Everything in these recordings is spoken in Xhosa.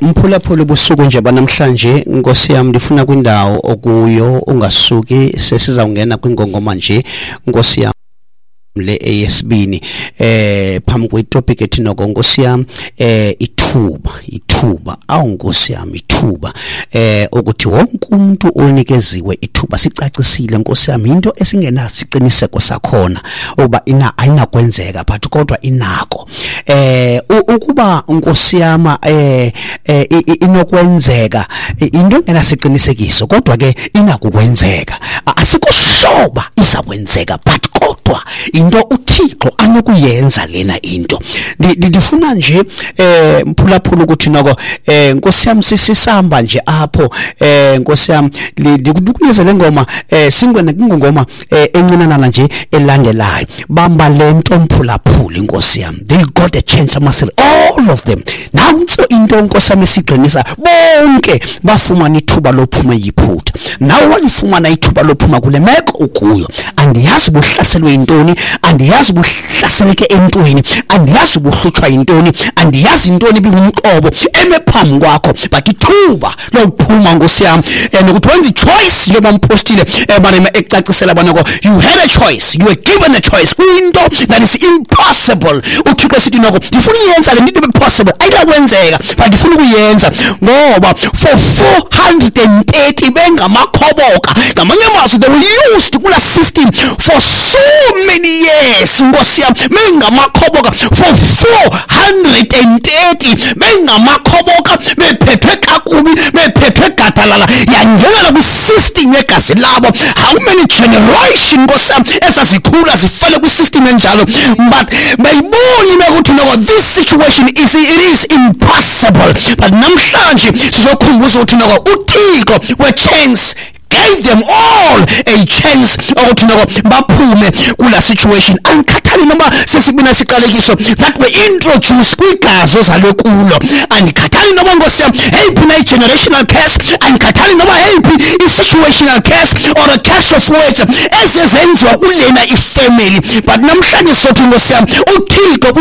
Mphulaphula, ubusuku nje banamhlanje, Nkosi yam, ndifuna kwindawo okuyo ungasuki, sesizawungena kwingongoma nje, Nkosi yam, le eyesibini phambi kwetopic ethi noko, Nkosi yam, ithuba, ithuba, awu Nkosi yam, ithuba, ukuthi wonke umuntu unikeziwe ithuba. Sicacisile, Nkosi yam, into esingenasiqiniseko sakhona ukuba ina ayinakwenzeka, but kodwa inako ukuba, Nkosi yam, inokwenzeka, into engenasiqinisekiso, kodwa ke inakukwenzeka. Asikushoba izakwenzeka, but kodwa into uThixo anokuyenza lena into. Ndifuna nje, mphulaphula, ukuthi noko, Nkosi yam, sisihamba nje apho, Nkosi yam, ndikunikeze le ngoma, singene kwingongoma encinanana nje elandelayo. Bamba le nto, mphulaphula, Inkosi yam, they got a chance, amasele, all of them. Nantso into, Nkosi yam, esiqinisa bonke bafumana ithuba lophuma eYiphutha. Nawe walifumana ithuba lophuma kule meko ukuyo. Andiyazi buhlaselwe yintoni, andiyazi buhlaseleke entweni, andiyazi buhlutshwa yintoni, andiyazi intoni ibingumqobo eme phambi kwakho, but ithuba lokuphuma, Nkosi yam, and ukuthi wenza i-choice, njengoba umpostile banema ecacisela banako, you had a choice, you were given a choice kwinto that is impossible. UThixo esithi noko, ndifuna uyenza le nto ibe possible, ayinakwenzeka, but ndifuna ukuyenza, ngoba for 430 bengamakhoboka, ngamanye amazwi they were used kula system for so many years, Nkosi yam, bengamakhoboka for 430, bengamakhoboka, bephethwe kakubi, bephethwe gadalala, yangenela kwisystem yegazi labo. How many generation, Nkosi yam, ezazikhula zifele kwisystem enjalo? But bayiboni bekuthi noko this situation is, it is impossible. But namhlanje sizokhumbuza ukuthi noko uThixo we-chance gave them all a chance ukuthi noko baphume kula situation. Angikhathali noma sesibina siqalekiso that were introduced kwigazi ozalwe kulo, andikhathali noma, Nkosi yam, eyiphi na i-generational curse, andikhathali noma eyiphi i-situational curse or a curse of words ezezenziwa kulena ifamily, but namhlanje sothi, Nkosi yam, uThixo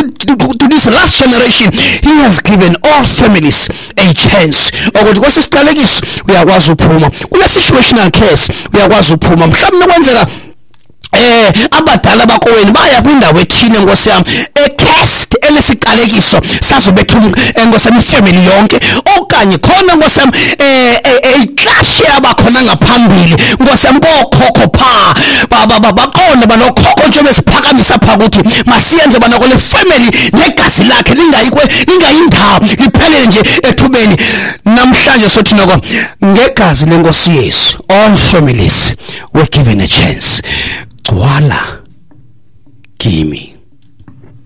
to this last generation, he has given all families a chance ukuthi kwesisiqalekiso uyakwazi uphuma, kule situational curse uyakwazi uphuma. Mhlawumbe kwenzeka abadala bakowenu baya kwindawo ethile, Nkosi yami, e-cursed, elesiqalekiso sazobetha, Nkosi yami, ifamily yonke, okanye khona, Nkosi yami, iclash yabakhona ngaphambili, Nkosi yami, kokhokho pha baqonda banokhokho nje besiphakamisa pha ukuthi masiyenze bana kule family negazi lakhe lingayikwe, lingayindawo, liphelele nje ethubeni. Namhlanje sothi noko ngegazi lenkosi Yesu all families were given a chance. Gcwala kimi.